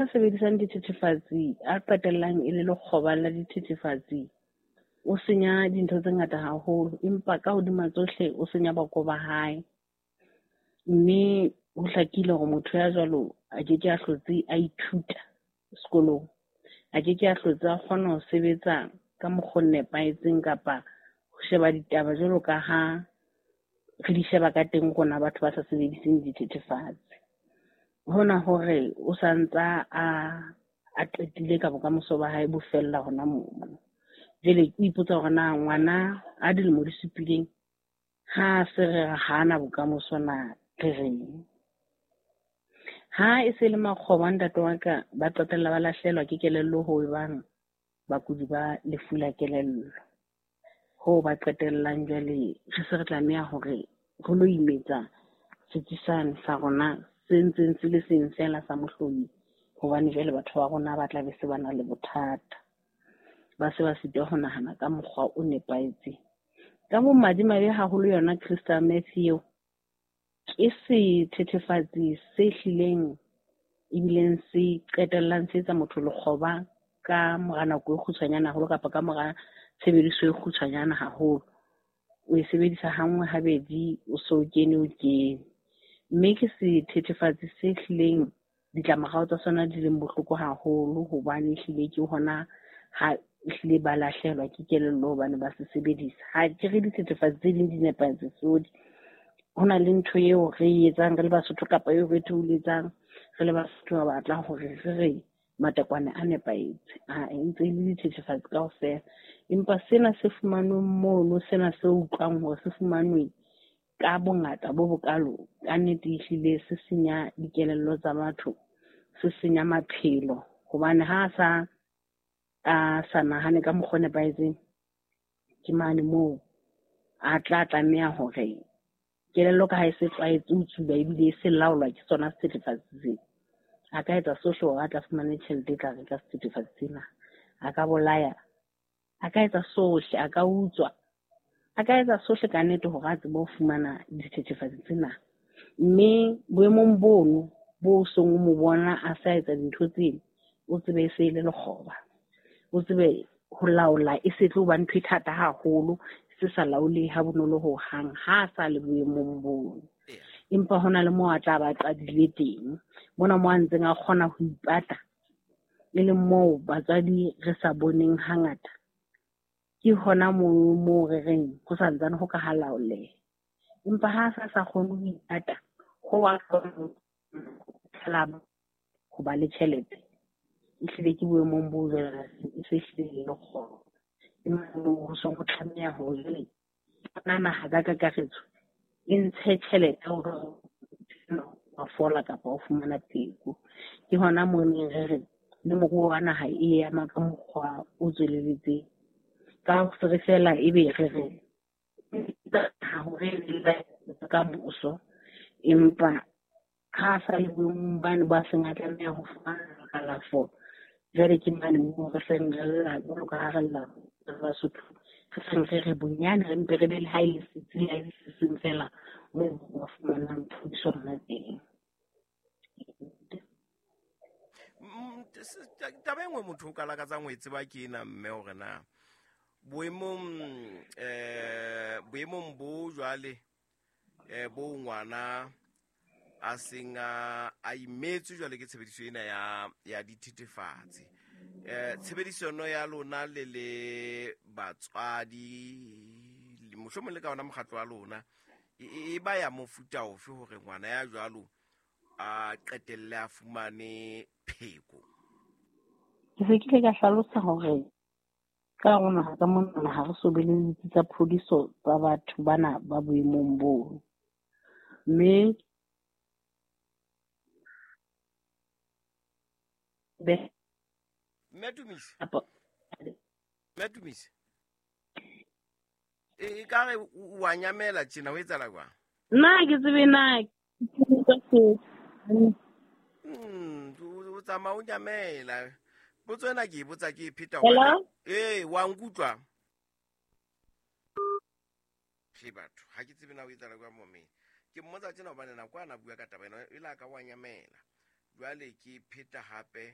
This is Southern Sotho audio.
Sebedisang dithethefatsi a qetellang e le lekgoba la dithethefatsi, o senya dintho tse ngata haholo, empa ka hodima tsohle o senya boko ba hae. Mme ho hlakile hore motho ya jwalo a ke ke a hlotse a ithuta sekolong, a ke ke a hlotse a kgona ho sebetsa ka mokgwa o nepahetseng kapa ho sheba ditaba jwalo ka ha re di sheba ka teng rona batho ba sa sebediseng dithethefatsi. Hona hore o santsa a qetile ka bokamoso ba hae bo fella hona mono. Jwale ke ipotsa hore na ngwana a dilemo di supileng ha se re hana bokamoso na re reng? Ha e se le makgoba ntate wa ka, ba qetella ba lahlehelwa ke kelello ho bang bakudi ba lefu la kelello. Hoo ba qetellang jwale re se re tlameha hore re lo imetsa setsi sane sa rona se ntseng se le seng feela sa mohlomi, hobane jwale batho ba rona ba tla be se ba na le bothata, ba se ba sitwa ho nahana ka mokgwa o nepahetseng. Ka bomadimabe haholo yona crystal meth eo ke sethethefatsi se hlileng ebileng se qetellang se etsa motho lekgoba ka mora nako e kgutshwanyane haholo kapa ka mora tshebediso e kgutshwanyane haholo. O e sebedisa hanngwe habedi, o so kene o kene. Mme ke sethethefatsi se hlileng ditlamorao tsa sona di leng bohloko haholo, hobane ehlile ke hona ha ehlile ba lahlehelwa ke kelello hobane ba se sebedisa. Ha ke re dithethefatsi tse ding di nepahetse tsodi. Ho na le ntho eo re e etsang re le Basotho kapa eo re theoletsang re le Basotho ba batlang hore re re matekwane a nepahetse. Ha e ntse e le dithethefatsi kaofela. Empa sena se fumanweng mono, sena se utlwang hore se fumanwe ka bongata bo bokalo, ka nnete ehlile se senya dikelello tsa batho, se senya maphelo. Hobane ha a sa nahane ka mokgwa o nepahetseng, ke mane moo a tla tlameha hore kelello ka ha e se tlwaetse ho tsuba ebile e se laolwa ke sona sethethefatsi sena, a ka etsa sohle hore a tla fumane tjhelete e tla reka sethethefatsi sena. A ka bolaya, a ka etsa sohle, a ka utswa, a ka etsa sohle ka nnete hore a tsebe ho fumana dithethefatsi tsena. Mme boemong bono bo seng o mo bona a sa etsa dintho tseno, o tsebe e se e le lekgoba, o tsebe ho laola e se tlo ba ntho e thata haholo, se sa laolehe ha bonolo ho hang ha a sa le boemong bono. Empa hona le moo a tla ba qadile teng, mona moo a ntseng a kgona ho ipata, e leng moo batswadi re sa boneng hangata. Ke hona moo re reng ho santsane ho ka ha laoleha. Empa ha a sa kgone ho ipata, ho wa ho ba le tjhelete, ehlile ke boemong bo jwalo, e se hlile e le lekgoba. Ke moo ho seng ho tlameha hore jwale na naha ka kakaretso e ntshe tjhelete hore wa fola kapa o fumana pheko. Ke hona moo neng re re le moruo wa naha e ema ka mokgwa o tswelelletseng. Ka hore feela ebe re re hore ka moso, empa ha a sa le boemong bane ba seng a tlameha ho fumana kalafo, jwale ke mane moo re seng re lla jwalo ka ha re lla re Basotho, re seng re re bonyane re mpe re be le ha e le setsi, ha e le se seng fela moo ba fumanang thuso hona teng. Taba e nngwe motho o ka lakatsang ho e tseba ke ena mme hore na boemong bo jwale bo ngwana a seng a imetswe jwale ke tshebediso ena ya dithethefatsi. Tshebedisano ya lona le le batswadi, mohlomong le ka ona mokgatlo wa lona, e ba ya mofuta ofe hore ngwana ya jwalo a qetelle a fumane pheko? Ke se ke ile ka hlalosa hore ka rona ka mona ha re so be le ditsi tsa phodiso tsa batho bana ba boemong boo. Mme be Mme Tumise. Apo. Mme Tumise. E ka re o wa nyamela tjena, o etsahala jwang? Nna ke tsebe na O tsamaya o nyamela. Potso ena ke e botsa ke e pheta Hello? hobane ee, wa nkutlwa? He batho, ha ke tsebe na o etsahala jwang momeng. Ke mmotsa tjena hobane nako a na bua ka taba ena, e la ka wa nyamela. Jwale ke pheta hape.